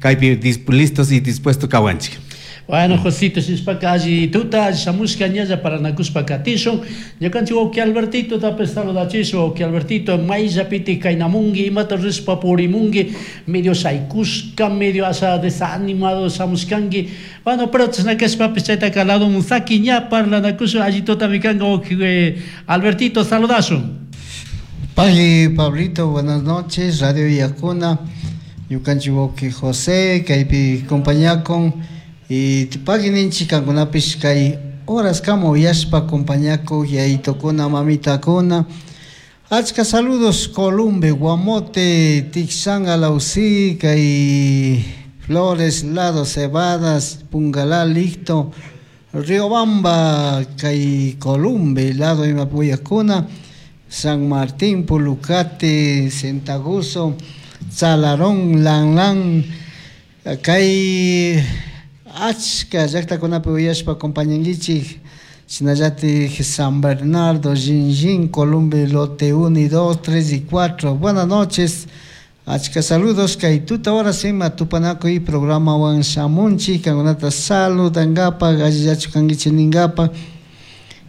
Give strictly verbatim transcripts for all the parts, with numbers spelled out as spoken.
Kaypi listos y dispuestos kawanchik. Bueno, Josito, shinashpaka alli tuta, alli shamushka ñalla parlanakushpa katishun. Ñukanchik wawki Albertito tapish saludachishun, wawki Albertito, mayllapiti kaynamunki, imata rishpa purimunki, medio shaykushka, medio asha desanimado shamushkanki. Bueno, pero chashna kashpapish chaytaka ladomun saki ña parlanakushun, alli tutami kanka wawki Albertito, saludashun. Pagui Pablito, buenas noches, Radio Yacuna, ñukanchik wawki José, kaypi compañakun y pagui ninchik kankunapish kay horas kama uyashpa compañakuk yayitokuna mamitakuna. Achka saludos Columbe, Guamote, Tixán, Alausí, kay Flores, Lado, Cebadas, Pungalá, Licto, Riobamba, kay Columbe, Lado Imapuyakuna, San Martín, Pulucate, Sentaguso, Tzalarón, Lan kay achka llaqtakunapi uyashpa acompañankichik shinallatik San Bernardo, Jinjin, Columbe, Lote uno y dos, tres y cuatro. Buenas noches. Achka saludos kay tuta horas ima tupanakuy programawan shamunchik kankunata saludankapak allillachu kankichik ninkapak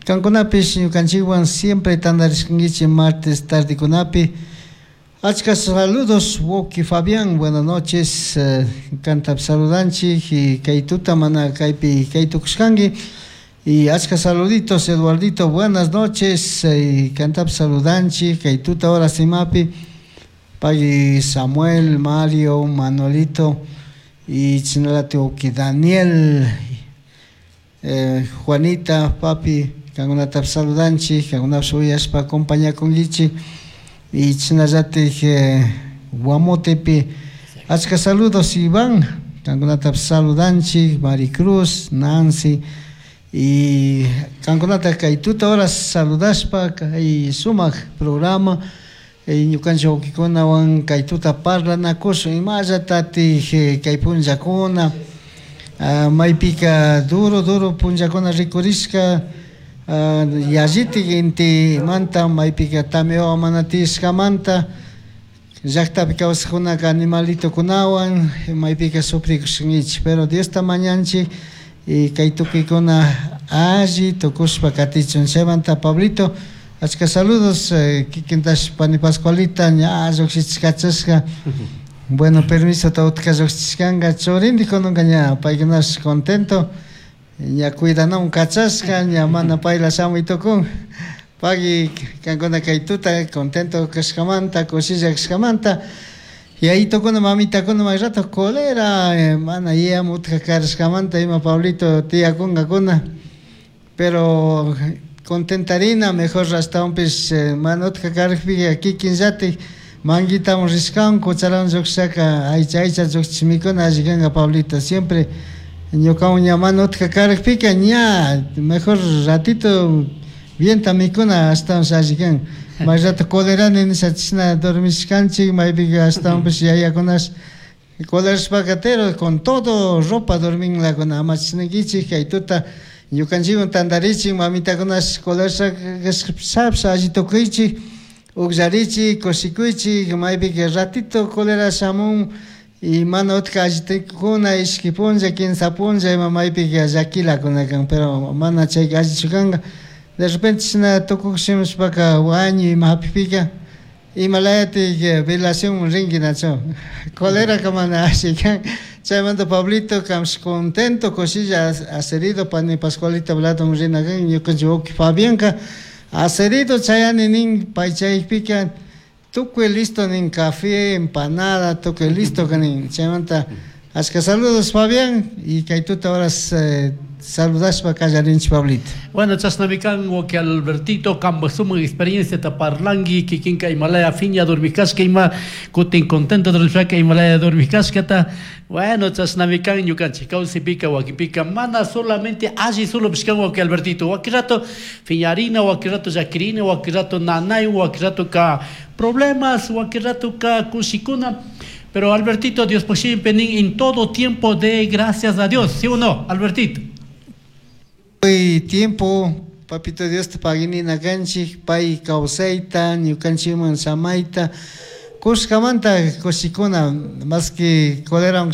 kankunapish ñukanchikwan siempre tantarishkankichik martes tardekunapi. Achka saludos, Woki Fabián, buenas noches, eh, kantap saludanchik y kay tuta mana kaypi kay tukushkanki. Y achka saluditos, Eduardito, buenas noches, y kantap saludanchik, kay tuta horas imapi, pagui Samuel, Mario, Manolito, y chinalati wawki Daniel, eh, Juanita, papi, kankunatap saludanchik, kankunapish uyashpa acompañakunkichik. Y chinallatik eh, Guamotepi, achka saludos Iván, kankunatap saludanchik, Maricruz, Nancy, y kankunata kay tuta horas saludashpa kay sumak programa, y ñukanchik wawkikunawan kay tuta parlanakushun imallatatik kay punllakuna, uh, maypika duro duro punllakuna rikurishka, uh, yallitik intimanta maypika tamia mana tiyashkamanta llaktapi kawsakkunaka animalitokunawan maypika sufrikushkankichik, pero Diosta mañanchik y kay tukuykuna alli tukushpa katichun. Chaymanta Pablito, achka saludos, eh, kikintash pani Pascualita ña llukshichkachashka. Bueno, permiso ta utka llukshichkanka churindik kunanka ña paykunash contento, ña cuidanamun kachashka, ña mana payla shamuy tukun. Pagui kankuna kay tuta contento kashkamanta, kushilla kashkamanta. Yayitokuna mamitakuna may rato cólera, eh, mana yayam utka karashkamanta ima Pablito tiyakunkakuna. Pero contentarina mejor ashtawanpish eh, mana utka karakpika kikinllatik manguitamun rishkan, cucharawan llukshaka aycha aycha llukchish mikuna alli kanka Pablito. Siempre ñukawan ña mana utka karakpika ña mejor ratito bienta mikuna ashtawansh alli kan. May rato colerani nisha chishna dormishkanchik maypika ashtawanpish yayakunash colerashpaka pero con todo ropa dorminlakuna ama chishnakichik kay tuta ñukanchikwan tantarichik mamitakunash colerashka alli tukuychik ukllarichik kushikuychik maypika ratito colera shamun y mana utka alli tukuna ishki punlla kimsa punlla ima maypika llakilakuna kan, pero mana chayka allichu kanka. De repente chishna tukukshimushpaka wañuy ima hapikpika imalayatik velación rinki nachu coleraka mana alli kan. Chaymanta Pablito kamsh contento kushilla acerido pani Pascualita Bladon rina kan ñukanchik wawki Fabianka acerido chayani nin pay chaypika tukuy listo nin café, empanada, tukuy listo nin. Chaymanta achka saludos Fabián y kay tuta horas eh, saludashpa kallarinchik Pablito. Bueno, chashnami kan wawki Albertito, kanpak sumak experiencia ta parlanki, kikinka imalaya fiña dormikashka ima kutin contento dormishpaka imalaya dormikashkata. Bueno, chashnami kan ñukanchik kawsaypika wakinpika mana solamente alli solo kan wawki Albertito, wakin rato fiñarina, wakin rato llakirina, wakin rato nanay, wakin rato ka problemas, wakin rato ka kushikuna. Pero Albertito, Dios por siempre en todo tiempo de gracias a Dios, ¿sí o no, Albertito? Hoy tiempo, papito Dios te pagini nakanchik, pay kawsayta, ñukanchikman samayta, kushkamanta kushikuna, más que cólera